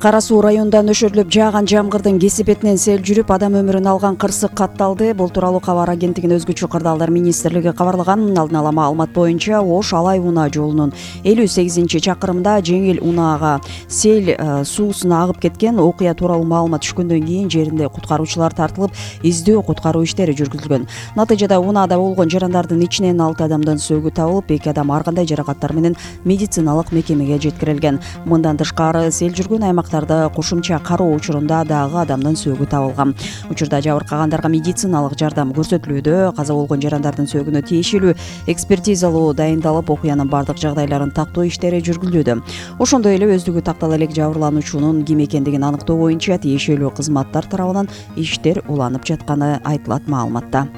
Кара Суу районунда нөшөрлөп жааган жамгырдын кесепетинен сел жүрүп, адам өмүрүн алган кырсык катталды. Бул тууралуу кабар агенттигинин өзгөчө кырдаалдар министрлиги кабарлаган. Алдын ала маалымат боюнча Ош Алай унаа жолунун 58-чакырымында жеңил унаага сел суусуна агып кеткен. Окуя тууралуу маалымат түшкөндөн кийин жеринде куткаруучулар тартылып, издөө куткаруу иштери жүргүзүлгөн. Натыйжада унаада болгон жарандардын ичинен 6 адамдын сөөгү табылып, 2 адам ар кандай жаракаттар менен медициналык мекемеге жеткирилген. Мындан тышкары сел жүргөн аймактарда кошумча кароо учурунда дагы адамдын сөөгү табылган. Учурда жабыркагандарга медициналык жардам көрсөтүлүүдө. Каза болгон жарандардын сөөгүнө тиешелүү экспертизалоо дайындалып, окуянын бардык жагдайларын тактоо иштери жүргүзүлүүдө. Ошондой эле өздүгү тактала элек жабырлануучунун ким экендигин аныктоо боюнча тиешелүү кызматтар тарабынан иштер уланып жатканы айтылат маалыматта.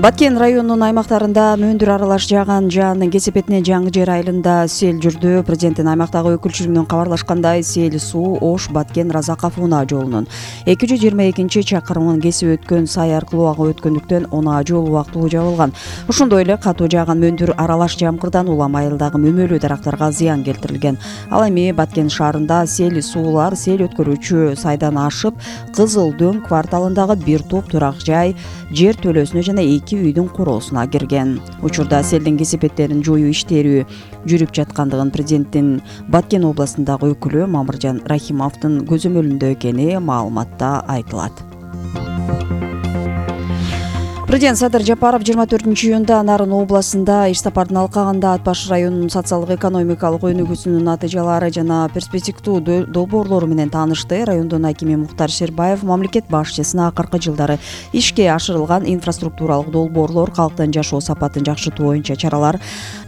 Баткен районунун аймактарында мөндүр аралаш жааган жаандын кесепетинен жаңы жер айылында сел жүрдү. Президенттин аймактагы өкүлчүлүгүнөн кабарлашкандай, сел суу Ош Баткен Разаков унаа жолунун 222-чакырымын кесип өткөн сай аркылуу агып өткөндүктөн унаа жол убактылуу жабылган. Ошондой эле катуу жааган мөндүр аралаш жамгырдан улам айылдагы мөмөлүү дарактарга зыян келтирилген. Ал эми Баткен шаарында сел суулар сел өткөрүүчү сайдан ашып, Кызыл Дөң кварталындагы бир топ турак жай, жер төлөөсүнө жана 2 үйдүн куроосуна кирген. Учурда селдин кесепеттерин жоюу иштери жүрүп жаткандыгын президенттин Баткен областындагы өкүлү Мамыржан Рахимовдун көзөмөлүндө экени маалыматта айтылат. Президент Садыр Жапаров 24-июнда Нарын областында иш сапарын алкаганда Ат Баш районунун социалдык-экономикалык өнүгүүсүнүн натыйжалары жана перспективдүү долбоорлору менен таанышты. Райондун акими Мухтар Шербаев мамлекет башчысына акыркы жылдары ишке ашырылган инфраструктуралык долбоорлор, калктын жашоо сапатын жакшыртуу боюнча чаралар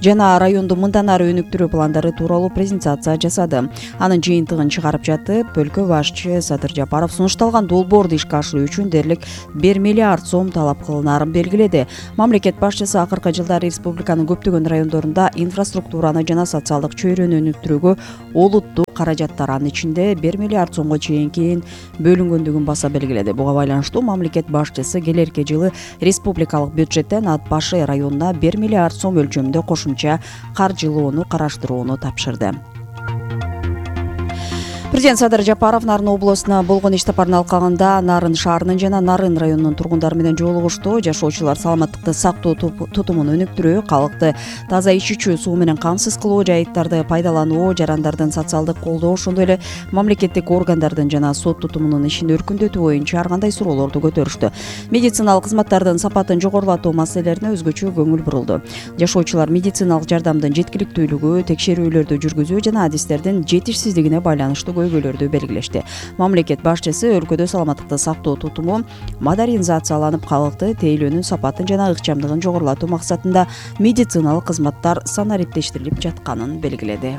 жана районду мындан ары өнүктүрүү пландары тууралуу презентация жасады. Анын жыйынтыгын чыгарып жатып, өлкө башчы Садыр Жапаров сунушталган долбоорду ишке ашыруу үчүн дээрлик 1 миллиард сом талап кылынарын белгиледи. Мамлекет башчысы акыркы жылдары республиканын көптөгөн райондорунда инфраструктураны жана социалдык чөйрөнү өнүктүрүүгө олуттуу каражаттар, анын ичинде 1 миллиард сомго чейин бөлүнгөндүгүн баса белгиледи. Буга байланыштуу мамлекет башчысы келерки жылы республикалык бюджеттен Ат Баш районуна 1 миллиард сом өлчөмүндө кошумча каржылоону караштырууну тапшырды. Президент Садыр Жапаров Нарын областына болгон иш сапарын алкагында Нарын шаарынын жана Нарын районунун тургундары менен жолугушту. Жашоочулар саламаттыкты сактоо тутумун өнүктүрүү, калкты таза ичүүчү суу менен камсыз кылуу, жайыттарды пайдалануу, жарандардын социалдык колдоо, ошондой эле мамлекеттик органдардын жана сот тутумунун ишин өркүндөтүү боюнча ар кандай суроолорду көтөрүштү. Медициналык кызматтардын сапатын жогорулатуу маселелерине өзгөчө көңүл бурулду. Жашоочулар медициналык жардамдын жеткиликтүүлүгү, текшерүүлөрдү жүргүзүү жана адистердин жетишсиздигине байланыштуу көйгөйлөрдү белгилешти. Мамлекет башчысы өлкөдө саламаттыкты сактоо тутуму модернизацияланып, калкты тейлөөнүн сапатын жана ыкчамдыгын жогорулатуу максатында медициналык кызматтар санариптештирилип жатканын белгиледи.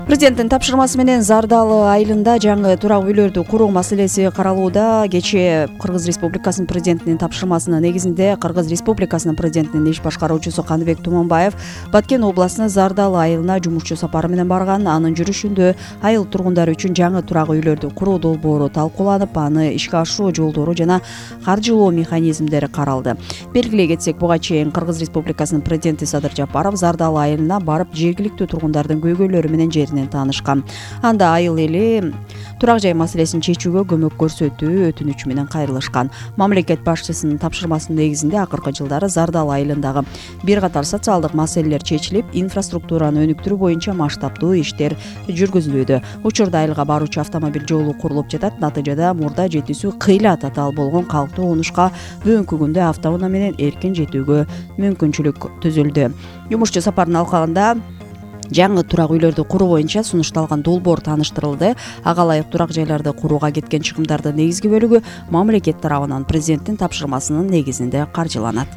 Президенттин тапшырмасы менен Зардалы айылында жаңы турак үйлөрдү куруу маселеси каралууда. Кечээ Кыргыз Республикасынын президентинин тапшырмасынын негизинде Кыргыз Республикасынын президентинин иш башкаруучусу Каныбек Туманбаев Баткен областынын Зардалы айылына жумушчу сапары менен барган. Анын жүрүшүндө айыл тургундары үчүн жаңы турак үйлөрдү куруу долбоору талкууланып, аны ишке ашыруу жолдору жана каржылоо механизмдери каралды. Белгилей кетсек, буга чейин Кыргыз Республикасынын президенти Садыр Жапаров Зардалы айылына барып, жергиликтүү тургундардын көйгөйлөрү менен таанышкан. Анда айыл эли турак жай маселесин чечүүгө көмөк көрсөтүү өтүнүчү менен кайрылышкан. Мамлекет башчысынын тапшырмасынын негизинде акыркы жылдары Зардалы айылындагы бир катар социалдык маселелер чечилип, инфраструктураны өнүктүрүү боюнча масштабдуу иштер жүргүзүлүүдө. Учурда айылга баруучу автомобиль жолу курулуп жатат. Натыйжада мурда жетүүсү кыйла татаал болгон калктуу онушка бүгүнкү күндө автоунаа менен эркин жетүүгө мүмкүнчүлүк түзүлдү. Жумушчу сапарын алкагында жаңы турак үйлөрдү куруу боюнча сунушталган долбоор тааныштырылды. Ага ылайык турак жайларды курууга кеткен чыгымдардын негизги бөлүгү мамлекет тарабынан президенттин тапшырмасынын негизинде каржыланат.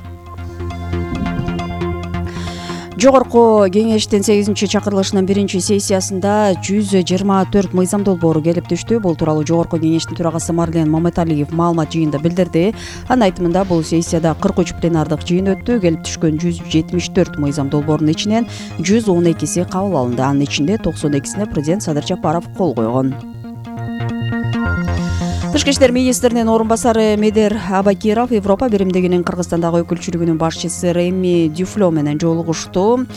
Жогорку кеңештин 8-чакырылышынын 1-сессиясында 124 мыйзам долбоору келип түштү. Бул тууралуу Жогорку кеңештин төрагасы Марлен Маматалиев маалымат жыйынында билдирди. Анын айтымында бул сессияда 43 пленардык жыйын өттү. Келип түшкөн 174 мыйзам долбоорунун ичинен 112си кабыл алынды. Анын ичинде 92сине президент Садыр Жапаров кол койгон. Тышкы иштер министринин орун басары Медер Абакиров Европа биримдигинин Кыргызстандагы өкүлчүлүгүнүн башчысы Реми Дюфло менен жолугушту.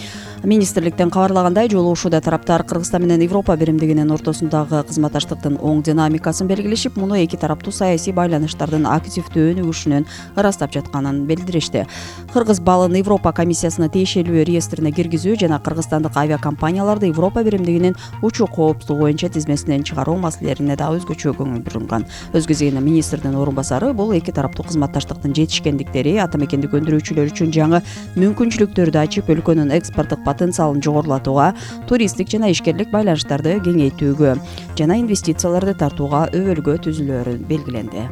Министрликтен кабарлагандай, жолугушууда тараптар Кыргызстан менен Европа биримдигинин ортосундагы кызматташтыктын оң динамикасын белгилешип, муну эки тараптуу саясий байланыштардын активдүү өнүгүшүнөн ырастап жатканын билдиришти. Кыргыз балын Европа комиссиясына тиешелүү реестрине киргизүү жана кыргызстандык авиакомпанияларды Европа биримдигинин учуу коопсуздугу боюнча тизмесинен чыгаруу маселелерине да өзгөчө көңүл бурулган. Өз кезегинде министрдин орун басары бул эки тараптуу кызматташтыктын жетишкендиктери, ата мекендик өндүрүүчүлөр үчүн жаңы мүмкүнчүлүктөрдү ачып, өлкөнүн экспорттук потенциалын жогорулатууга, туристтик жана ишкерлик байланыштарды кеңейтүүгө жана инвестицияларды тартууга өбөлгө түзүлөөрү белгиленди.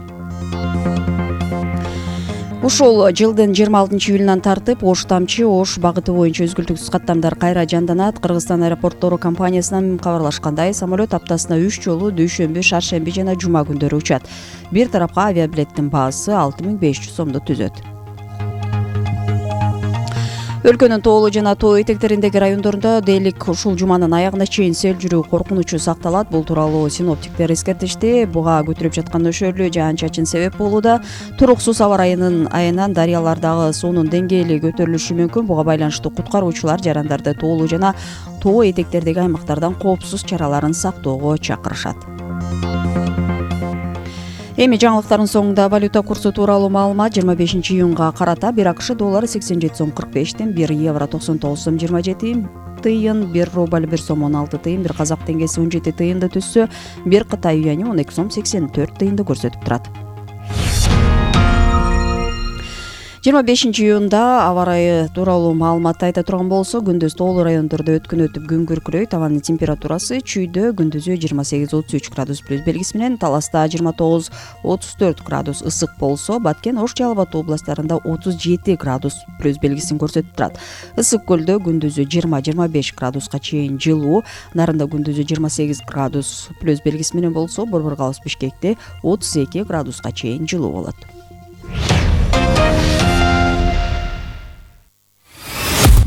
Ушул жылдын 26-июлунан тартып Ош Тамчы Ош багыты боюнча үзгүлтүксүз каттамдар кайра жанданат. Кыргызстан аэропорттору компаниясынан кабарлашкандай, самолет аптасына 3 жолу дүйшөмбү, шаршемби жана жума күндөрү учат. Бир тарапка авиабилеттин баасы 6500 сомду түзөт. Өлкөнүн тоолуу жана тоо этектериндеги райондорунда дээрлик ушул жуманын аягына чейин сел жүрүү коркунучу сакталат. Бул тууралуу синоптиктер эскертишти. Буга көтөрүп жаткан нөшөрлүү жаан-чачын себеп болууда. Туруксуз аба ырайынын айынан дарыялардагы суунун деңгээли көтөрүлүшү мүмкүн. Буга байланыштуу куткаруучулар жарандарды тоолуу жана тоо этектердеги аймактардан коопсуз чараларын сактоого чакырышат. Эми жаңылыктардын соңунда валюта курсу тууралуу маалымат. 25-июнга карата 1 АКШ доллары 87 сом 45 тыйын, 1 евро 99 сом 27 тыйын, 1 рубль 1 сом 16 тыйын, 1 казак теңгеси 17 тыйынды түзсө, 1 Кытай юани 12 сом 84 тыйынды көрсөтүп турат. 25-июнда аба ырайы тууралуу маалыматты айта турган болсо, күндүз тоолуу райондордо өткөн өтүп күн күркүрөйт. Абанын температурасы чүйдө күндүзү 28-33 градус плюс белгиси менен, Таласта 29-34 градус ысык болсо, Баткен, Ош, Жалал Абад областарында 37 градус плюс белгисин көрсөтүп турат. Ысык көлдө күндүзү 20-25 градуска чейин жылуу, Нарында күндүзү 28 градус плюс белгиси менен болсо, Борбор Калыс Бишкекте 32 градуска чейин жылуу болот.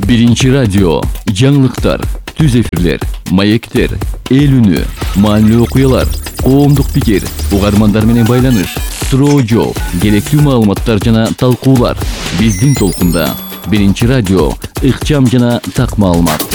Биринчи радио, жаңылыктар, түз эфирлер, маектер, эл үнү, маанилүү окуялар, коомдук пикир, угармандар менен байланыш, суроо жооп, керектүү маалыматтар жана талкуулар. Биздин толкунда Биринчи радио, ыкчам жана так маалымат.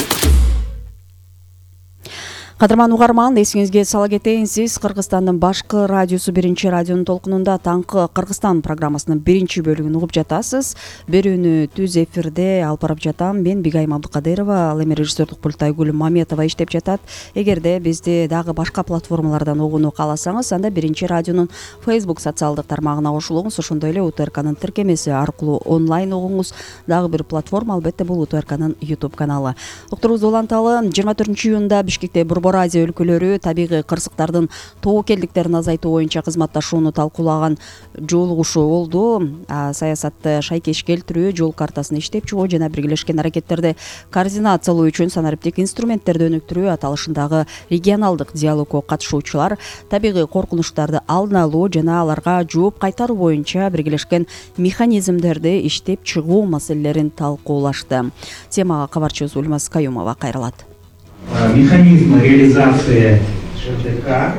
Кадырман угарман, эсиңизге сала кетейин, сиз Кыргызстандын башкы радиосу Биринчи радионун толкунунда таңкы Кыргызстан программасынын биринчи бөлүгүн угуп жатасыз. Берүүнү түз эфирде алып барып жатам. Мен Бигайым Абдыкадырова, ал эми режиссердук пультта Айгүл Маметова иштеп жатат. Эгерде бизди дагы башка платформалардан угууну кааласаңыз, анда Биринчи радионун Facebook социалдык тармагына кошулуңуз. Ошондой эле УТРКнын тиркемеси аркылуу онлайн угуңуз. Дагы бир платформа албетте бул УТРКнын YouTube каналы. Уктуруңузду уланталы. 24-июнда Бишкекте Борбор Азия өлкөлөрү табигый кырсыктардын тобокелдиктерин азайтуу боюнча кызматташууну талкуулаган жолугушуу болду. Саясатты шайкеш келтирүү, жол картасын иштеп чыгуу жана биргелешкен аракеттерди координациялоо үчүн санариптик инструменттерди өнүктүрүү аталышындагы регионалдык диалогко катышуучулар табигый коркунучтарды алдын алуу жана аларга жооп кайтаруу боюнча биргелешкен механизмдерди иштеп чыгуу маселелерин талкуулашты. Темага кабарчыбыз Ульмаз Каюмова кайрылат. Механизмы реализации ЖТК.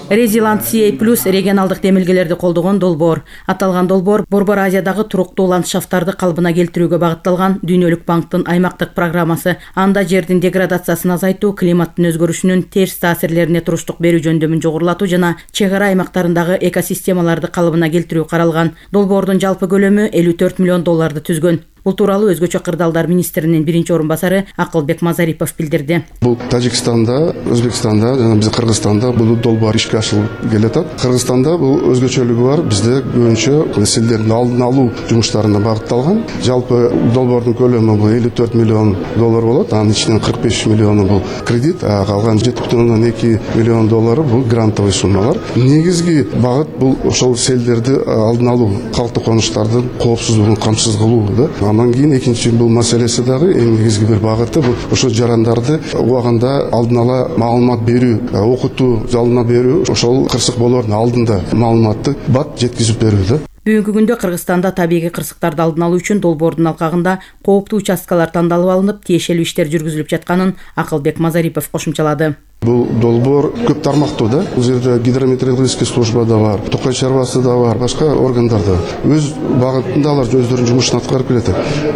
Резилант CA+ регионалдык демилгелерди колдогон долбоор. Аталган долбоор Борбор Азиядагы туруктуу ландшафттарды калыбына келтирүүгө багытталган Дүйнөлүк банктын аймактык программасы. Анда жердин деградациясын азайтуу, климаттын өзгөрүшүнүн терс таасирлерине туруштук берүү жөндөмүн жогорулатуу жана чек ара аймактарындагы экосистемаларды калыбына келтирүү каралган. Долбоордун жалпы көлөмү $54 миллион түзгөн. Бул тууралуу өзгөчө кырдаалдар министринин биринчи орун басары Акылбек Мазарипов билдирди. Бул Тажикстанда, Өзбекстанда жана биздин Кыргызстанда бул долбоор ишке ашырылып келатат. Кыргызстанда бул өзгөчөлүгү бар. Бизде көбүнчө селдердин алдын алуу жумуштарына багытталган. Жалпы долбоордун көлөмү бул $54 миллион болот. Анын ичинен 45 миллиону бул кредит, калган $7,2 миллион бул грантовый суммалар. Негизги багыт бул ошол селдерди алдын алуу, калкты конуштардын коопсуздугун камсыз кылуу. Андан кийин экинчи бул маселеси дагы эң негизги бир багыты бул ошо жарандарды убагында алдын ала маалымат берүү, окутуу, жалына берүү, ошол кырсык болоордун алдында маалыматты бат жеткизип берүү. Бүгүнкү күндө Кыргызстанда табигый кырсыктарды алдын алуу үчүн долбоордун алкагында кооптуу участкалар тандалып алынып, тиешелүү иштер жүргүзүлүп жатканын Акылбек Мазарипов кошумчалады. Бул долбоор көп тармактуу да. Бул жерде гидрометеорологический служба да бар, Токай чарбасы да бар, башка органдар да. Өз багытында алар өздөрүнүн жумушун аткарып келет.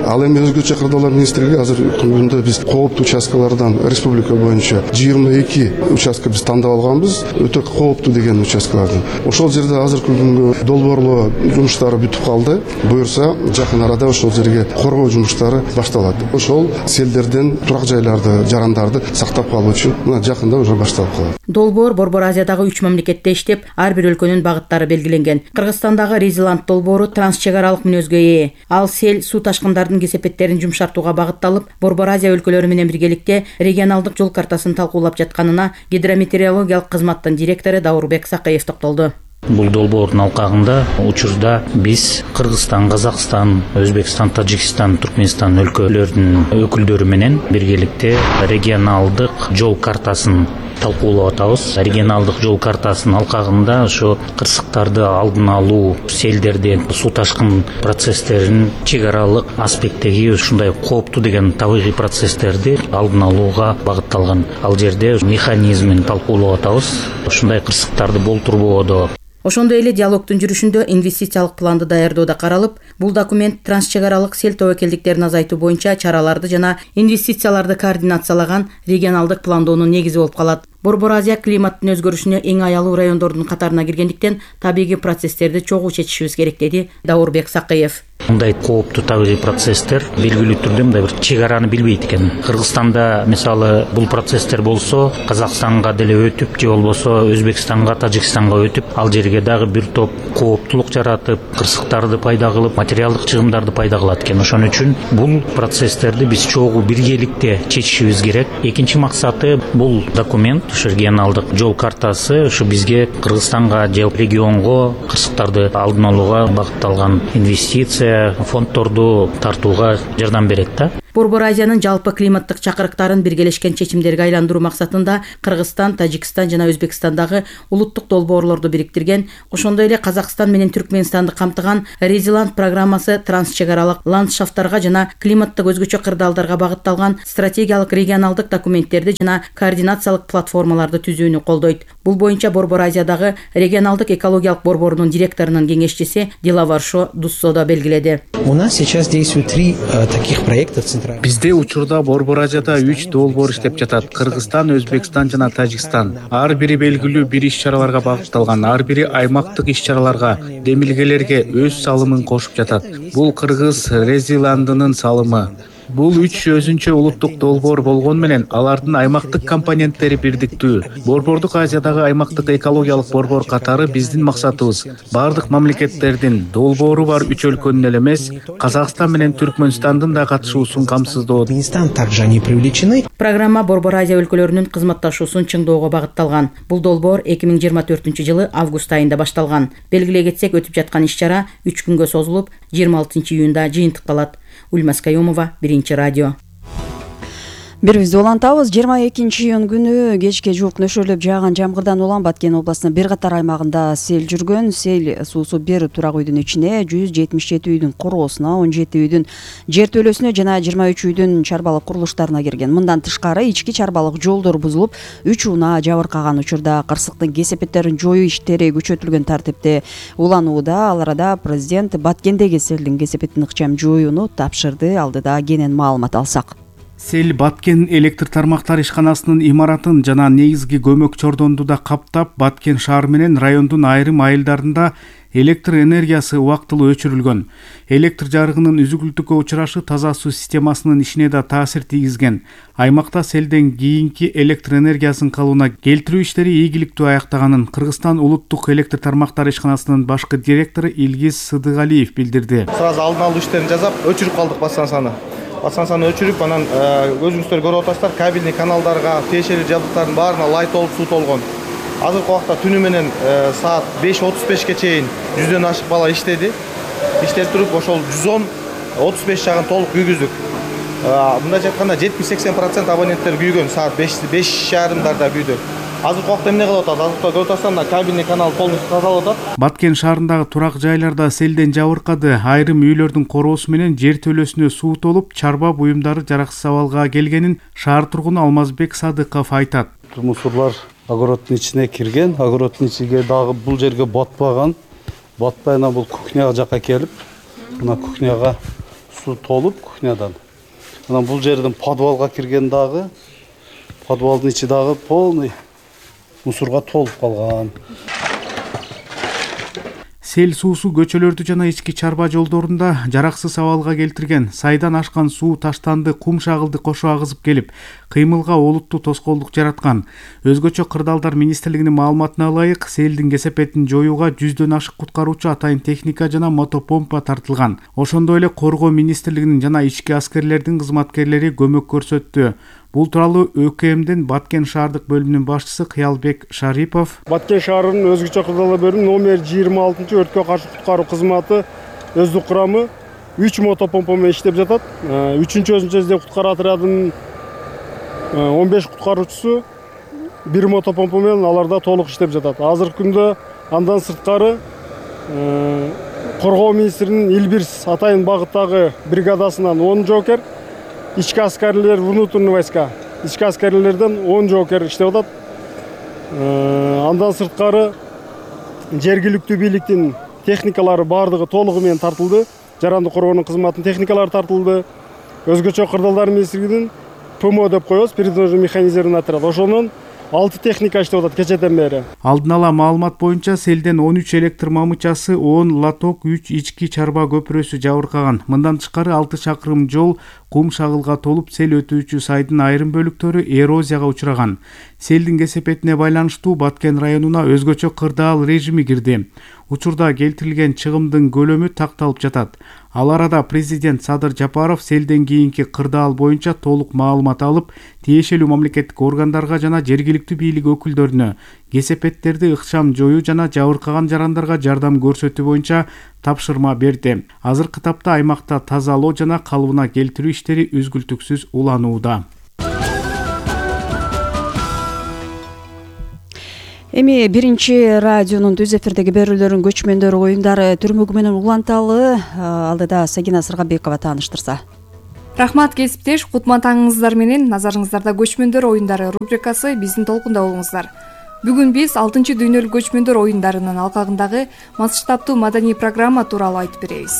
Ал эми өзгөчө кырдаалар министрлиги азыр күндө биз кооптуу участкалардан республика боюнча 22 участка биз тандап алганбыз, өтө кооптуу деген участкаларды. Ошол жерде азыркы күнгө долбоорлоо жумуштары бүтүп калды. Буюрса жакын арада ошол жерге коргоо жумуштары башталат. Ошол селдерден турак жайларды, жарандарды сактап калуу үчүн мына жакында уже башталып калат. Долбоор Борбор Азиядагы 3 мамлекетте иштеп, ар бир өлкөнүн багыттары белгиленген. Кыргызстандагы Резиланд долбоору трансчек аралык мүнөзгө ээ. Ал сел, суу ташкындардын кесепеттерин жумшартууга багытталып, Борбор Азия өлкөлөрү менен биргеликте регионалдык жол картасын талкуулап жатканына гидрометеорологиялык кызматтын директору Даурбек Сакыев токтолду. Бул долбоордун алкагында учурда биз Кыргызстан, Казакстан, Өзбекстан, Тажикстан, Түркмөнстан өлкөлөрүнүн өкүлдөрү менен биргеликте регионалдык жол картасын талкуулап атабыз. Регионалдык жол картасынын алкагында ошо кырсыктарды алдын алуу, селдерден суу ташкын процесстерин чек аралык аспекттеги ушундай кооптуу деген табигый процесстерди алдын алууга багытталган. Ал жерде механизмин талкуулап атабыз. Ушундай кырсыктарды болтурбоодо. Ошондой эле диалогдун жүрүшүндө инвестициялык планды даярдоо да каралып, бул документ трансчек аралык сел тобокелдиктерин азайтуу боюнча чараларды жана инвестицияларды координациялаган регионалдык пландоонун негизи болуп калат. Борбор Азия климаттын өзгөрүшүнө эң аялуу райондордун катарына киргендиктен табигый процесстерди чогуу чечишибиз керек, деди Даурбек Сакыев. Мындай кооптуу табигый процесстер белгилүү түрдө мындай бир чек араны билбейт экен. Кыргызстанда мисалы бул процесстер болсо, Казакстанга деле өтүп, же болбосо Өзбекстанга, Тажикстанга өтүп, ал жерге дагы бир топ кооптулук жаратып, кырсыктарды пайда кылып, материалдык чыгымдарды пайда кылат экен. Ошон үчүн бул процесстерди биз чогуу биргеликте чечишибиз керек. Экинчи максаты бул документ, ушу регионалдык жол картасы, ушу бизге Кыргызстанга же регионго кырсыктарды алдын алууга багытталган инвестиция фондторду тартууга жардам берет да. Борбор Азиянын жалпы климаттык чакырыктарын биргелешкен чечимдерге айландыруу максатында Кыргызстан, Тажикстан жана Өзбекстандагы улуттук долбоорлорду бириктирген, ошондой эле Казакстан менен Түркмөнстанды камтыган Резиланд программасы трансчек аралык ландшафттарга жана климаттык өзгөчө кырдаалдарга багытталган стратегиялык регионалдык документтерди жана координациялык платформаларды түзүүнү колдойт. Бул боюнча Борбор Азиядагы регионалдык экологиялык борборунун директорунун кеңешчиси Дилаваршо Дуссодо белгиледи. У нас сейчас действует 3 таких проекта. Бизде учурда Борбор Азияда 3 долбоор иштеп жатат. Кыргызстан, Өзбекстан жана Тажикстан. Ар бири белгилүү бир иш-чараларга багытталган, ар бири аймактык иш-чараларга, демилгелерге өз салымын кошуп жатат. Бул Кыргыз Резиландынын салымы. Бул 3 өзүнчө улуттук долбоор болгон менен алардын аймактык компоненттери бирдиктүү. Борбордук Азиядагы аймактык экологиялык борбор катары биздин максатыбыз бардык мамлекеттердин долбоору бар 3 өлкөнүн эле эмес, Казакстан менен Түркмөнстандын да катышуусун камсыздоо. Также они привлечены. Программа Борбор Азия өлкөлөрүнүн кызматташуусун чыңдоого багытталган. Бул долбоор 2024-жылы август айында башталган. Белгилей кетсек, өтүп жаткан иш-чара 3 күнгө созулуп, 26 июнда жыйынтыкталат. Ульмас Каюмова, Биринчи радио. Бирибизди улантабыз. 22 июнь күнү кечке жуук нөшөрлөп жааган жамгырдан улам Баткен областынын бир катар аймагында сел жүргөн. Сел суусу бир турак үйдүн ичине 177 үйдүн короосуна, 17 үйдүн жертөлөсүнө жана 23 үйдүн чарбалык курулуштарына кирген. Мындан тышкары ички чарбалык жолдор бузулуп, 3 унаа жабыркаган учурда кырсыктын кесепеттерин жоюу иштери күчөтүлгөн тартипте уланууда. Ал арада президент Баткендеги селдин кесепетин ыкчам жоюуну тапшырды. Алдыда кенен маалымат алсак. Сел Баткен электр тармактар ишканасынын имаратын жана негизги көмөк чордонду да каптап, Баткен шаар менен райондун айрым айылдарында электр энергиясы убактылуу өчүрүлгөн. Электр жарыгынын үзүкүлтүккө учурашы таза суу системасынын ишине да таасир тийгизген. Аймакта селден кийинки электр энергиясын калыбына келтирүү иштери ийгиликтүү аяктаганын Кыргызстан улуттук электр тармактар ишканасынын башкы директору Илгиз Сыдыгалиев билдирди. Сразу алдын алуу иштерин жасап, өчүрүп калдык бассаны. Бассаны өчүрүп, анан өзүңүздөр көрүп атасыздар, кабельный каналдарга, тиешелүү жабдыктардын баарына лай толуп, суу толгон. Азыркы убакта түнү менен саат 5:35ке чейин 100дөн ашык бала иштеди. Иштеп туруп, ошол 110-35 жагын толук күйгүздүк. Мындайча айтканда 70-80% абоненттер күйгөн, саат 5:30 күйдү. азыркы убакта эмне кылып атат? Азыркы көрүп атасыздар, мына кабельный канал полностью тазалап атат. Баткен шаарындагы турак жайларда селден жабыркады. Айрым үйлөрдүн короосу менен жер төлөсүнө суу толуп, чарба буюмдары жараксыз абалга келгенин шаар тургуну Алмазбек Садыков айтат. Мусорлар огороддун ичине кирген, огороддун ичиге дагы бул жерге батпаган. Батпай ана бул кухняга жакка келип, мына кухняга суу толуп кухнядан. Анан бул жерден подвалга кирген дагы, подвалдын ичи дагы полный мусорго толуп калган. Сел суусу көчөлөрдү жана ички чарба жолдорунда жараксыз абалга келтирген. Сайдан ашкан суу таштанды, кум шагылды кошо агызып келип, кыймылга олуттуу тоскоолдук жараткан. Өзгөчө Кырдаалдар министрлигинин маалыматына ылайык, селдин кесепетин жоюуга 100дөн ашык куткаруучу, атайын техника жана мотопомпа тартылган. Ошондой эле Коргоо министрлигинин жана ички аскерлердин кызматкерлери көмөк көрсөттү. Бул тууралуу ÖKMдин Баткен шаардык бөлүмүнүн башчысы Кыялбек Шарипов. Баткен шаарынын өзгөчө кырдаалдар бөлүмү номер 26 өрткө каршы куткаруу кызматы өздүк курамы 3 мотопомпа менен иштеп жатат. 3-чү өзүнчө издөө куткаруу отрядынын 15 куткаруучусу 1 мотопомпа менен аларда толук иштеп жатат. Азыркы күндө андан сырткары Коргоо министринин Илбирс атайын багыттагы бригадасынан 10 жоокер, ички аскерлер, внутренний войска, ички аскерлерден 10 жоокер иштеп атат. Андан сырткары жергиликтүү бийликтин техникалары бардыгы толугу менен тартылды. Жаранды коргоонун кызматынын техникалары тартылды. Өзгөчө Кырдаалдар министрлигинин ПМО деп коебуз, передвижный механизированный отряд. Ошонун 6 техника иштеп атат кечеден бери. Алдын ала маалымат боюнча селден 13 электр мамычасы, 10 лоток, 3 ички чарба көпүрөсү жабыркаган. Мындан тышкары 6 чакырым жол кум шагылга толуп, сел өтүүчү сайдын айрым бөлүктөрү эрозияга учураган. Селдин кесепетине байланыштуу Баткен районуна өзгөчө кырдаал режими кирди. Учурда келтирилген чыгымдын көлөмү такталып жатат. Ал арада президент Садыр Жапаров селден кийинки кырдаал боюнча толук маалымат алып, тиешелүү мамлекеттик органдарга жана жергиликтүү бийлик өкүлдөрүнө кесепеттерди ыкчам жоюу жана жабыркаган жарандарга жардам көрсөтүү боюнча тапшырма берди. Азыркы тапта аймакта тазалоо жана калыбына келтирүү иштери үзгүлтүксүз уланууда. Эми биринчи радионун түз эфирдеги берүүлөрүн көчмөндөр оюндары түрмөгү менен уланталы. Алдыда Сагина Сыргабекова тааныштырса. Рахмат кесиптеш, кутман таңыңыздар менен. Назарыңыздарда көчмөндөр оюндары рубрикасы биздин толкунда болуңуздар. Бүгүн биз 6-чы дүйнөлүк көчмөндөр оюндарынын алкагындагы масштабтуу маданий программа тууралуу айтып беребиз.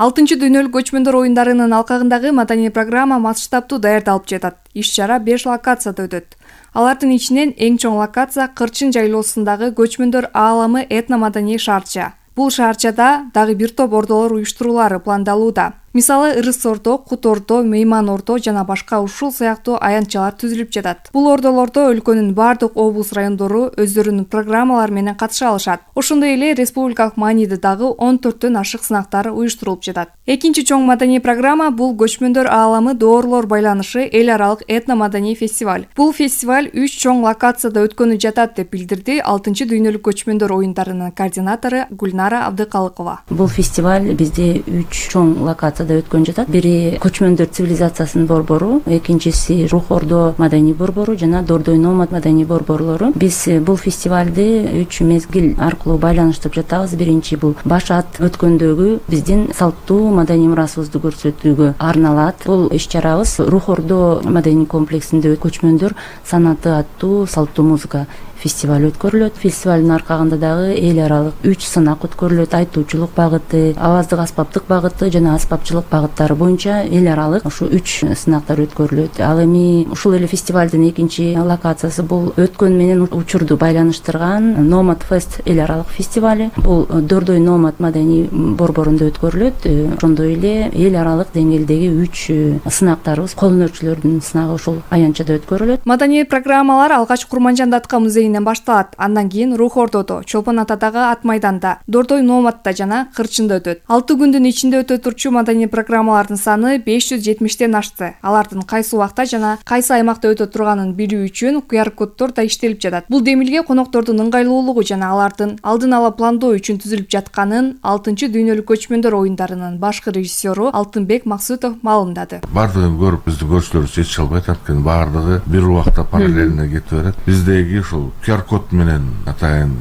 6-чы дүйнөлүк көчмөндөр оюндарынын алкагындагы маданий программа масштабтуу даярдалып жатат. Иш-чара 5 локацияда өтөт. Алардын ичинен эң чоң локация Кырчын жайлоосундагы көчмөндөр ааламы этномаданий шаарча. Бул шаарчада дагы бир топ ордолор уюштуруулары пландалууда. Мисалы, Ырыс ордо, Кут ордо, Мейман ордо жана башка ушул сыяктуу аянтчалар түзүлүп жатат. Бул ордолордо өлкөнүн бардык облус райондору өздөрүнүн программалары менен катыша алышат. Ошондой эле республикалык мааниде дагы 14төн ашык сынактар уюштурулуп жатат. Экинчи чоң маданий программа бул көчмөндөр ааламы доорлор байланышы эл аралык этномаданий фестиваль. Бул фестиваль 3 чоң локацияда өткөнү жатат деп билдирди 6-чы дүйнөлүк көчмөндөр оюндарынын координатору Гүлнара Абдыкалыкова. Бул фестиваль бизде 3 чоң локация өткөн жатат. Бири көчмөндөр цивилизациясынын борбору, экинчиси Рух ордо маданий борбору жана Дордой номад маданий борборлору. Биз бул фестивалды 3 мезгил аркылуу байланыштырып жатабыз. Биринчи бул баш ат өткөндөгү биздин салттуу маданий мурасыбызды көрсөтүүгө арналат. Бул иш-чарабыз Рух ордо маданий комплексинде көчмөндөр санаты аттуу салттуу музыка фестиваль өткөрүлөт. Фестивалдын аркагында дагы эл аралык 3 сынак өткөрүлөт. Айтуучулук багыты, аваздык аспаптык багыты жана аспапчылык багыттары боюнча эл аралык ушу 3 сынактар өткөрүлөт. Ал эми ушул эле фестивалдын экинчи локациясы бул өткөн менен учурду байланыштырган Номад Фест эл аралык фестивали. Бул Дордой номад маданий борборунда өткөрүлөт. Ошондой эле эл аралык деңгээлдеги 3 сынактарыбыз, кол өнөрчүлөрдүн сынагы ушул аянтчада өткөрүлөт. Маданий программалар алгач Курманжан Датка музейинин менен башталат. Андан кийин Рух Ордодо, Чолпон Атадагы ат майданда, Дордой Номатта жана Кырчында өтөт. 6 күндүн ичинде өтө турчу маданий программалардын саны 570тен ашты. Алардын кайсы убакта жана кайсы аймакта өтө турганын билүү үчүн QR-коддор да иштелип жатат. Бул демилге коноктордун ыңгайлуулугу жана алардын алдын ала пландоо үчүн түзүлүп жатканын 6-дүйнөлүк көчмөндөр оюндарынын башкы режиссеру Алтынбек Максутов маалымдады. Бардыгын көрүп биздин көрүүчүлөр жетише албайт, анткени бардыгы бир убакта параллельно кетип берет. Биздеги ушул QR-код менен атайын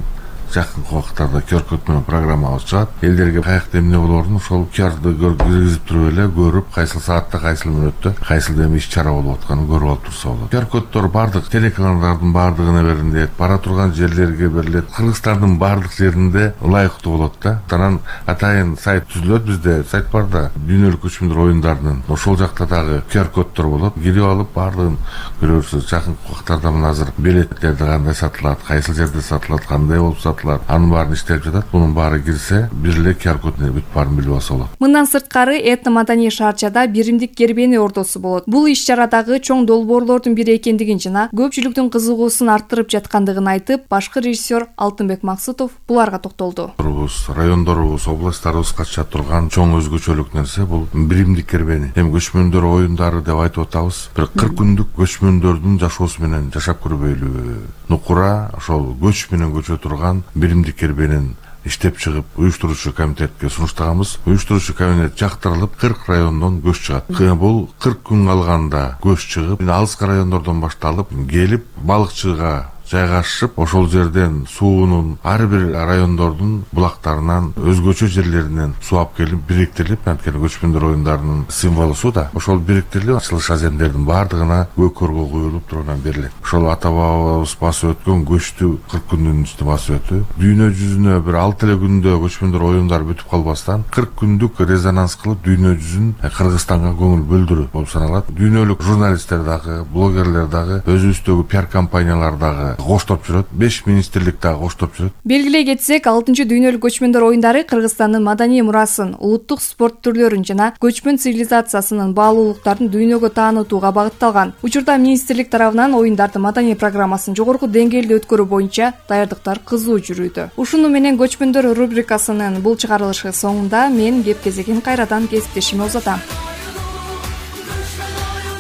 жакынкы убактарда QR-код менен программабыз чыгат. Элдерге каякта эмне болоорун ошол QR-ды киргизип туруп эле көрүп, кайсыл саатта, кайсыл мүнөттө, кайсыл эми иш-чара болуп атканын көрүп алып турса болот. QR-коддор бардык телеканалдардын бардыгына берилет, бара турган жерлерге берилет. Кыргызстандын бардык жеринде ылайыктуу болот да. Анан атайын сайт түзүлөт, бизде сайт бар да, дүйнөлүк көчмөндөр оюндарынын. Ошол жакта дагы QR-коддор болот. Кирип алып бардыгын көрөсүз. Жакынкы убактарда мына азыр билеттерди кандай сатылат, кайсыл жерде сатылат, кандай болуп сатылат, анын баарын иштелип жатат. Мунун баары кирсе, бир эле QR-код бүт баарын билип алса болот. Мындан сырткары этно-маданий шаарчада биримдик кербени ордосу болот. Бул иш-чарадагы чоң долбоорлордун бири экендигин жана көпчүлүктүн кызыгуусун арттырып жаткандыгын айтып, башкы режиссер Алтынбек Максутов буларга токтолду. Райондорубуз, областтарыбыз катышат турган чоң өзгөчөлүк нерсе бул биримдик кербени. Эми көчмөндөр оюндары деп айтып атабыз. Бир 40 күндүк көчмөндөрдүн жашоосу менен жашап көрбөйлү. Нукура ошол көч менен көчө турган биримдик кербенин иштеп чыгып, уюштуруучу комитетке сунуштаганбыз. Уюштуруучу комитет жактырылып 40 райондон көч чыгат. Бул 40 күн калганда көч чыгып, алыскы райондордон башталып келип балыкчыга жайгашып, ошол жерден суунун ар бир райондордун булактарынан, өзгөчө жерлеринен суу алып келип бириктелип, анткени көчмөндөр оюндарынын символу суу да. Ошол бириктелип, ачылыш аземдердин бардыгына көкөргө куюлуп туруп берилет. Ошол ата бабабыз басып өткөн көчтү 40 күндүн ичинде басып өтү. Дүйнө жүзүнө бир 6 эле күндө көчмөндөр оюндары бүтүп калбастан 40 күндүк резонанс кылып дүйнө жүзүн Кыргызстанга көңүл бөлдүрүү болуп саналат. Дүйнөлүк журналисттер дагы, блогерлер дагы, өзүбүздөгү пиар компаниялар дагы коштоп жүрөт. 5 министрлик дагы коштоп жүрөт. Белгилей кетсек, 6-дүйнөлүк көчмөндөр оюндары Кыргызстандын маданий мурасын, улуттук спорт түрлөрүн жана көчмөн цивилизациясынын баалуулуктарын дүйнөгө таанытууга багытталган. Учурда министрлик тарабынан оюндардын маданий программасын жогорку деңгээлде өткөрүү боюнча даярдыктар кызуу жүрүүдө. Ушуну менен көчмөндөр рубрикасынын бул чыгарылышы соңунда мен кеп кезегин кайрадан кесиптешиме узатам.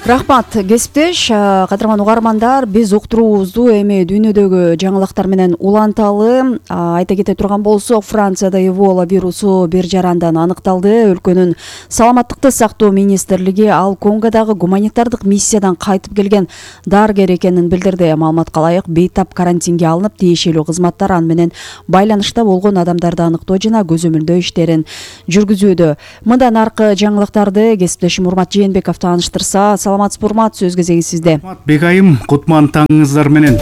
Рахмат, кесиптеш. Кадырман угармандар, биз уктуруубузду эми дүйнөдөгү жаңылыктар менен уланталы. Айта кете турган болсок, Францияда Эбола вирусу бир жарандан аныкталды. Өлкөнүн саламаттыкты сактоо министрлиги ал Конгодагы гуманитардык миссиядан кайтып келген дарыгер экенин билдирди. Маалыматка ылайык, бейтап карантинге алынып, тиешелүү кызматтар аны менен байланышта болгон адамдарды аныктоо жана көзөмөлдөө иштерин жүргүзүүдө. Мындан аркы жаңылыктарды кесиптешим Урмат Жээнбеков тааныштырса, саламатсызбы Урмат, сөз кезеги сизде. Бегайым, кутман таңыңыздар менен.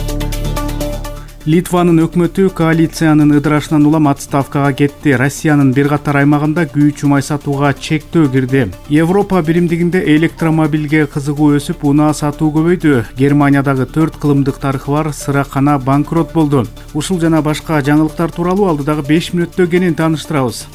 Литванын өкмөтү коалициянын ыдырашынан улам отставкага кетти. Россиянын бир катар аймагында күйүүчү май сатууга чектөө кирди. Европа биримдигинде электромобилге кызыгуу өсүп, унаа сатуу көбөйдү. Германиядагы 4 кылымдык тарыхы бар сыракана банкрот болду. Ушул жана башка жаңылыктар тууралуу алдыдагы 5 мүнөттө кенен тааныштырабыз.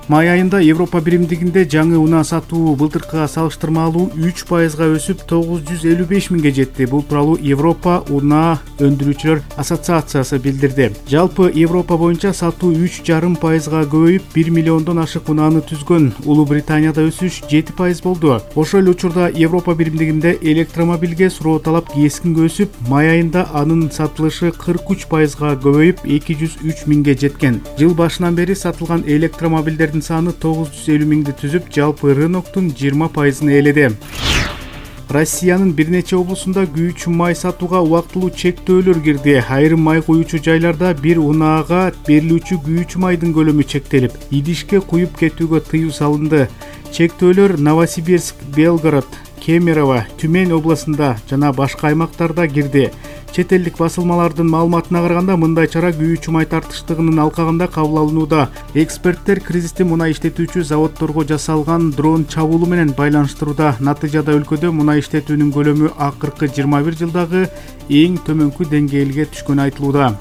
Май айында Европа биримдигинде жаңы унаа сатуу былтыркыга салыштырмалуу 3%га өсүп 955 миңге жетти. Бул тууралуу Европа унаа өндүрүүчүлөр ассоциациясы билдирди. Жалпы Европа боюнча сатуу 3,5%га көбөйүп 1 миллиондон ашык унааны түзгөн. Улуу Британияда өсүш 7% болду. Ошол эле учурда Европа биримдигинде электромобилге суроо талап кескин өсүп, май айында анын сатылышы 43%га көбөйүп 203 миңге жеткен. Жыл башынан бери сатылган электромобилдер саны 950 миңди түзүп, жалпы рыноктун 20%-ын ээледи. Россиянын бир нече облусунда күйүүчү май сатууга убактылуу чектөөлөр кирди. Айрым май куюучу жайларда бир унаага берилүүчү күйүүчү майдын көлөмү чектелип, идишке куюп кетүүгө тыюу салынды. Чектөөлөр Новосибирск, Белгород, Кемерово, Тюмень областында жана башка аймактарда кирди. Чет элдик басылмалардын маалыматына караганда, мындай чара күйүүчү май тартыштыгынын алкагында кабыл алынууда. Эксперттер кризисти мунай иштетүүчү заводдорго жасалган дрон чабуулу менен байланыштырууда. Натыйжада өлкөдө мунай иштетүүнүн көлөмү акыркы 21 жылдагы эң төмөнкү деңгээлге түшкөнү айтылууда.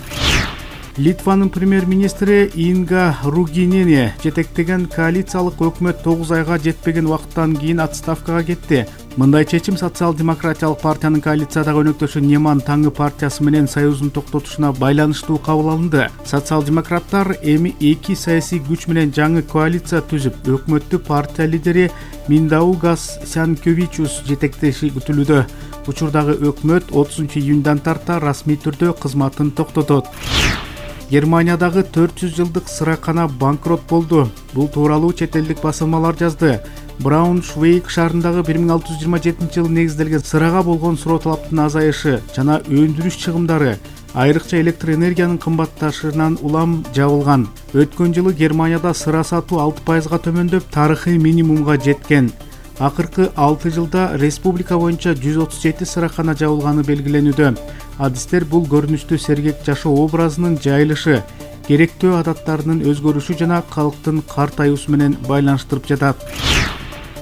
Литванын премьер-министри Инга Ругинени жетектеген коалициялык өкмөт 9 айга жетпеген убакыттан кийин отставкага кетти. Мындай чечим Социал-демократиялык партиянын коалициядагы өнөктөшү Неман Таңы партиясы менен союзун токтотушуна байланыштуу кабыл алынды. Социал-демократтар эми 2 саясий күч менен жаңы коалиция түзүп, өкмөттү партия лидери Миндаугас Сянкевичус жетектеши күтүлүүдө. Учурдагы өкмөт 30-июндан тарта расмий түрдө кызматын токтотот. Германиядагы 400 жылдык сыракана банкрот болду. Бул тууралуу чет элдик басылмалар жазды. Брауншвейг шаарындагы 1627-жылы негизделген сырага болгон суроо талаптын азайышы жана өндүрүш чыгымдары, айрыкча электр энергиянын кымбатташынан улам жабылган. Өткөн жылы Германияда сыра сатуу 6%га төмөндөп, тарыхый минимумга жеткен. Акыркы 6 жылда республика боюнча 137 сыракана жабылганы белгиленүүдө. Адистер бул көрүнүштүү сергек жашоо образынын жайылышы, керектөө адаттарынын өзгөрүшү жана калктын картаюусу менен байланыштырып жатат.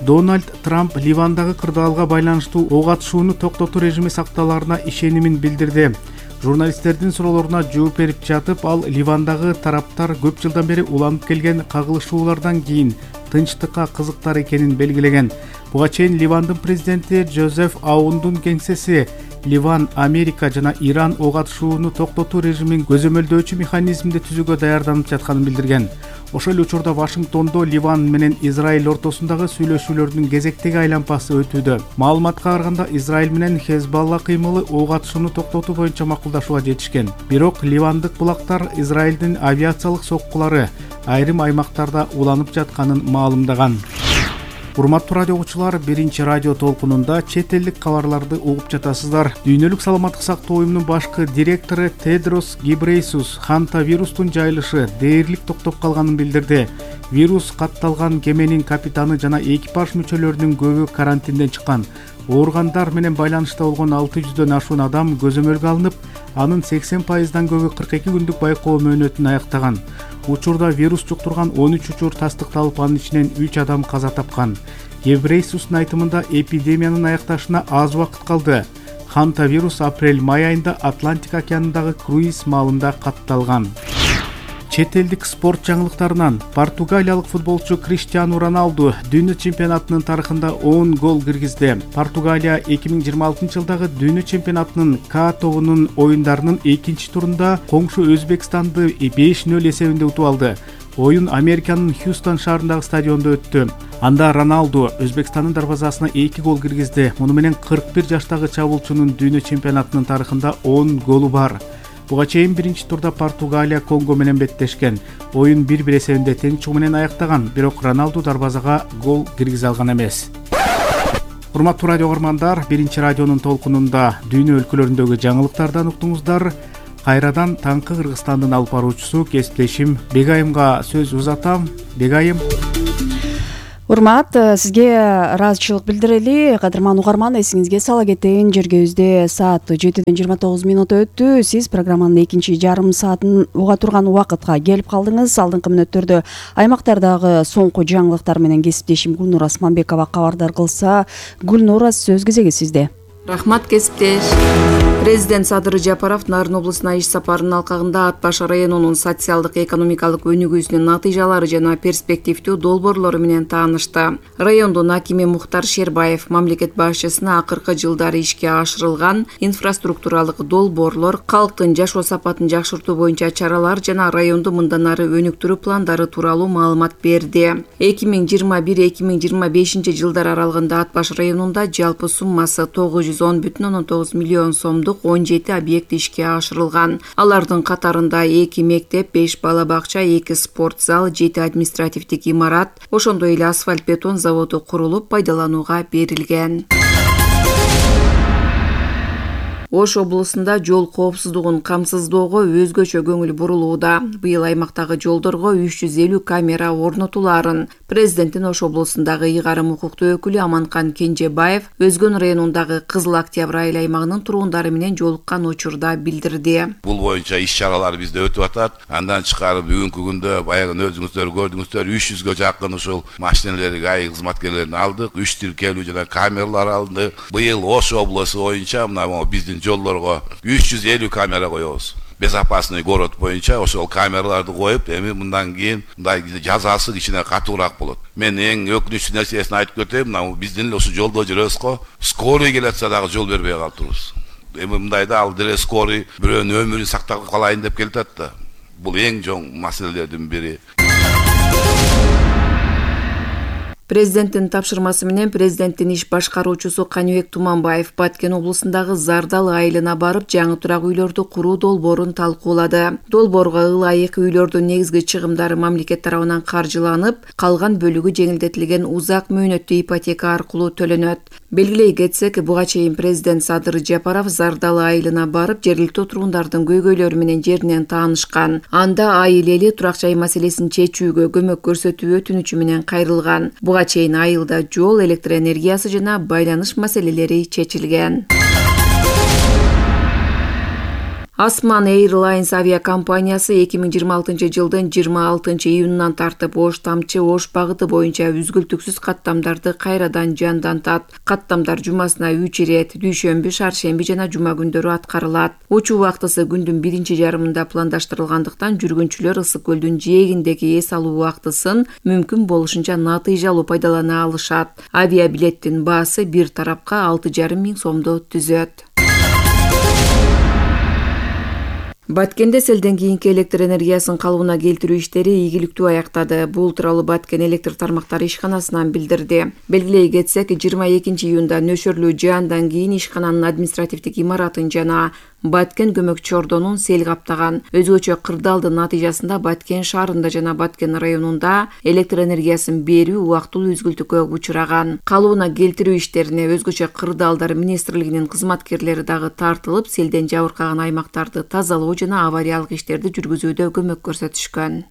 Дональд Трамп Ливандагы кырдаалга байланыштуу ок атышууну токтотуу режими сакталаарына ишенимин билдирди. Журналисттердин суроолоруна жооп берип жатып, ал Ливандагы тараптар көп жылдан бери уланып келген кагылышуулардан кийин тынчтыкка кызыктар экенин белгилеген. Буга чейин Ливандын президенти Жозеф Аундун кеңсеси Ливан, Америка жана Иран ок атышууну токтотуу режимин көзөмөлдөөчү механизмди түзүүгө даярданып жатканын билдирген. Ошол эле учурда Вашингтондо Ливан менен Израиль ортосундагы сүйлөшүүлөрдүн кезектеги айланпасы өтүүдө. Маалыматка караганда Израиль менен Хезбалла кыймылы ок атышууну токтотуу боюнча макулдашууга жетишкен. Бирок ливандык булактар Израилдин авиациялык соккулары айрым аймактарда уланып жатканын маалымдаган. Урматтуу радио угуучулар, биринчи радио толкунунда чет элдик кабарларды угуп жатасыздар. Дүйнөлүк саламаттык сактоо уюмунун башкы директору Тедрос Гебрейсус Ханта вирустун жайылышы дээрлик токтоп калганын билдирди. Вирус катталган кеменин капитаны жана экипаж мүчөлөрүнүн көбү карантинден чыккан. Ооругандар менен байланышта болгон 600дөн ашуун адам көзөмөлгө алынып, анын 80%дан көбү 42 күндүк байкоо мөөнөтүн аяктаган. Учурда вирус жуктурган 13 учур тастыкталып, анын ичинен 3 адам каза тапкан. Гебрейсустун айтымында эпидемиянын аякташына аз убакыт калды. Ханта вирус апрель-май айында Атлантика океанындагы круиз маалында катталган. Чет элдик спорт жаңылыктарынан португалиялык футболчу Криштиану Роналду дүйнө чемпионатынын тарыхында 10 гол киргизди. Португалия 2026 жылдагы дүйнө чемпионатынын К тобунун оюндарынын экинчи турунда коңшу Өзбекстанды 5-0 эсебинде утуп алды. Оюн Американын Хьюстон шаарындагы стадиондо өттү. Анда Роналду Өзбекстандын дарбазасына 2 гол киргизди. Муну менен 41 жаштагы чабуулчунун дүйнө чемпионатынын тарыхында 10 голу бар. Буга чейин биринчи турда Португалия Конго менен беттешкен. Оюн 1-1 эсебинде тең чыгуу менен аяктаган, бирок Роналду дарбазага гол киргизе алган эмес. Урматтуу радио көрөрмандар, биринчи радионун толкунунда дүйнө өлкөлөрүндөгү жаңылыктардан уктуңуздар. Кайрадан таңкы Кыргызстандын алып баруучусу кесиптешим Бегайымга сөз узатам. Бегайым. Урмат, сизге ыраазычылык билдирели. Кадырман угарман, эсиңизге сала кетейин, жергебизде саат 7:29 өттү. Сиз программанын экинчи жарым саатын уга турган убакытка келип калдыңыз. Алдыңкы мүнөттөрдө аймактардагы соңку жаңылыктар менен кесиптешим Гүлнур Асманбекова кабардар кылса. Гүлнур, сөз кезеги сизде. Рахмат, кесиптеш. Президент Садыр Жапаров Нарын облусуна иш сапарынын алкагында Ат Баш районунун социалдык экономикалык өнүгүүсүнүн натыйжалары жана перспективдүү долбоорлору менен таанышты. Райондун акими Мухтар Шербаев мамлекет башчысына акыркы жылдары ишке ашырылган инфраструктуралык долбоорлор, калктын жашоо сапатын жакшыртуу боюнча чаралар жана районду мындан ары өнүктүрүү пландары тууралуу маалымат берди. 2021-2025 жылдар аралыгында Ат Баш районунда жалпы суммасы 910,9 миллион сомдук 17 объект ишке ашырылган. Алардын катарында 2 мектеп, 5 бала бакча, 2 спорт зал, 7 административдик имарат, ошондой эле асфальт бетон заводу курулуп пайдаланууга берилген. Ош облусунда жол коопсуздугун камсыздоого өзгөчө көңүл бурулууда. Быйыл аймактагы жолдорго 350 камера орнотулаарын президенттин Ош облусундагы ыйгарым укуктуу өкүлү Аманкан Кенжебаев Өзгөн районундагы Кызыл Октябрь айыл аймагынын турундары менен жолуккан учурда билдирди. Бул боюнча иш-чаралар бизде өтүп атат. Андан чыкарып бүгүнкү күндө баягы өзүңүздөр көрдүңүздөр 300га жакын ушул машиналерди ай кызматкерлерин алдык, 3 тиркелүү жана камералар алынды. Быйыл Ош облусу боюнча мына биздин жолдорго 350 камера коебуз. безопасный город боюнча ошол камераларды коюп, эми мындан кийин мындай жазасы кичине катуураак болот. Мен эң өкүнүчтүү нерсесин айтып кетейин, мына биздин эле ушул жолдо жүрөбүз го, скорый келатса дагы жол бербей калыптырбыз. Эми мындайда ал деле скорый бирөөнүн өмүрүн сактап калайын деп келатат да. Бул эң чоң маселелердин бири. Президенттин тапшырмасы менен президенттин иш башкаруучусу Каныбек Туманбаев Баткен облусундагы Зардал айылына барып, жаңы турак үйлөрдү куруу долбоорун талкуулады. Долбоорго ылайык үйлөрдүн негизги чыгымдары мамлекет тарабынан каржыланып, калган бөлүгү жеңилдетилген узак мөөнөттүү ипотека аркылуу төлөнөт. Белгилей кетсек, буга чейин президент Садыр Жапаров Зардал айылына барып, жергиликтүү тургундардын көйгөйлөрү менен жеринен таанышкан. Анда айыл эли турак жай маселесин чечүүгө көмөк көрсөтүү өтүнүчү менен кайрылган. Буга чейин айылда жол, электр энергиясы жана байланыш маселелери чечилген. Osman Airlines авиакомпаниясы 2026 жылдын 26 июнунан тартып Ош-Тамчы Ош багыты боюнча үзгүлтүксүз каттамдарды кайрадан жандантат. Каттамдар жумасына 3 ирет, дүйшөмбү, шаршемби жана жума күндөрү аткарылат. Учуу убактысы күндүн биринчи жарымында пландаштырылгандыктан жүргүнчүлөр Ысык көлдүн жээгиндеги эс алуу убактысын мүмкүн болушунча натыйжалуу пайдалана алышат. Авиабилеттин баасы бир тарапка 6,5 миң сомдо түзөт. Баткенде селден кийинки электр энергиясын калыбына келтирүү иштери ийгиликтүү аяктады. Бул тууралуу Баткен электр тармактары ишканасынан билдирди. Белгилей кетсек, 22 июнда нөшөрлүү жаандан кийин ишкананын административдик имаратын жана Баткен көмөкчү ордонун сел каптаган. Өзгөчө кырдаалдын натыйжасында Баткен шаарында жана Баткен районунда электр энергиясын берүү убактылуу үзгүлтүккө учураган. Калыбына келтирүү иштерине өзгөчө кырдаалдар министрлигинин кызматкерлери дагы тартылып, селден жабыркаган аймактарды тазалоо жана авариялык иштерди жүргүзүүдө көмөк көрсөтүшкөн.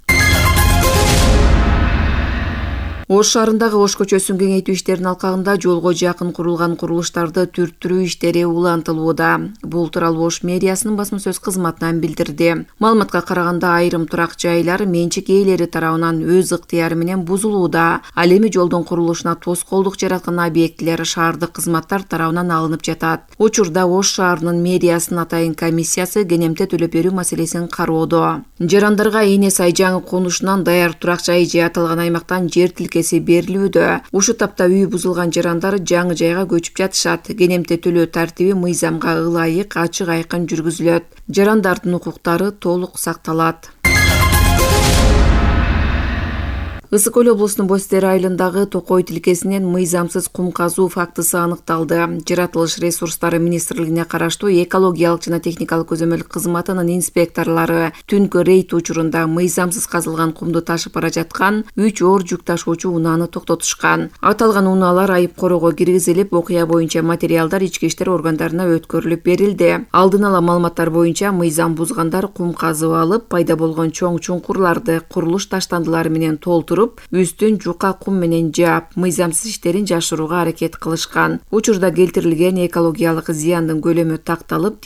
Ош шаарындагы Ош көчөсүн кеңейтүү иштеринин алкагында жолго жакын курулган курулуштарды түрттүрүү иштери улантылууда. Бул тууралуу Ош мэриясынын басма сөз кызматынан билдирди. Маалыматка караганда айрым турак жайлар менчик ээлери тарабынан өз ыктыяры менен бузулууда. Ал эми жолдун курулушуна тоскоолдук жараткан объектилер шаардык кызматтар тарабынан алынып жатат. Учурда Ош шаарынын мэриясынын атайын комиссиясы кенемте төлөп берүү маселесин кароодо. Жарандарга Эне сай жаңы конушунан даяр турак жай же аталган аймактан жер тилкеси берилүүдө. Ушу тапта үй бузулган жарандар жаңы жайга көчүп жатышат. Кенемте төлөө тартиби мыйзамга ылайык, ачык айкын жүргүзүлөт. Жарандардын укуктары толук сакталат. Ысык көл облусунун Бостер айылындагы Токой тилкесинен мыйзамсыз кум казуу фактысы аныкталды. Жаратылыш ресурстары министрлигине караштуу экологиялык жана техникалык көзөмөл кызматынын инспекторлору түнкү рейд учурунда мыйзамсыз казылган кумду ташып бара жаткан 3 оор жүк ташуучу унааны токтотушкан. Аталган унаалар айып короого киргизилип, окуя боюнча материалдар ички иштер органдарына өткөрүлүп берилди. Алдын ала маалыматтар боюнча мыйзам бузгандар кум казып алып, пайда болгон чоң чуңкурларды курулуш таштандылары менен толтуруп, үстүн жука кум менен жаап, мыйзамсыз иштерин жашырууга аракет кылышкан. Учурда келтирилген экологиялык зыяндын көлөмү такталып,